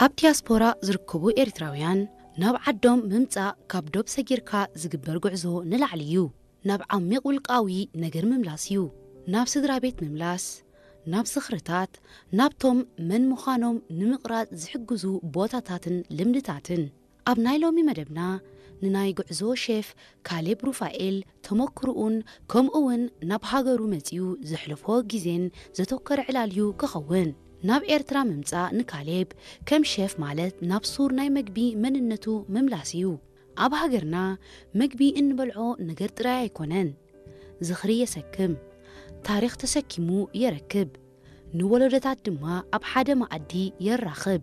ኣብ ዲያስፖራ ዝርከቡ ኤርትራውያን ናብ ዓዶም ምምጻእ ካብ ዶብ ሰጊርካ ዝግበር ጉዕዞ ንላዕሊ እዩ። ናብ ዓሚቕ ውልቃዊ ነገር ምምላስ እዩ። ናብ ስድራ ቤት ምምላስ፣ ናብ ዝኽርታት፣ ናብቶም መን ምዃኖም ንምቕራጽ ዝሕግዙ ቦታታትን ልምድታትን። ኣብ ናይ ሎሚ መደብና ንናይ ጉዕዞ ሼፍ ካሌብ ሩፋኤል ተመክሮኡን ከምኡ እውን ናብ ሃገሩ መጺኡ ዘሕለፎ ግዜን ዘተኮረ ዕላል እዩ ክኸውን። ናብ ኤርትራ ምምጻእ ንካሌብ ከም ሼፍ ማለት ናብ ሱር ናይ መግቢ መንነቱ ምምላስ እዩ። ኣብ ሃገርና መግቢ እንበልዖ ነገር ጥራይ ኣይኮነን። ዝኽሪ የሰክም፣ ታሪኽ ተሰኪሙ የረክብ፣ ንወለዶታት ድማ ኣብ ሓደ መኣዲ የራኽብ።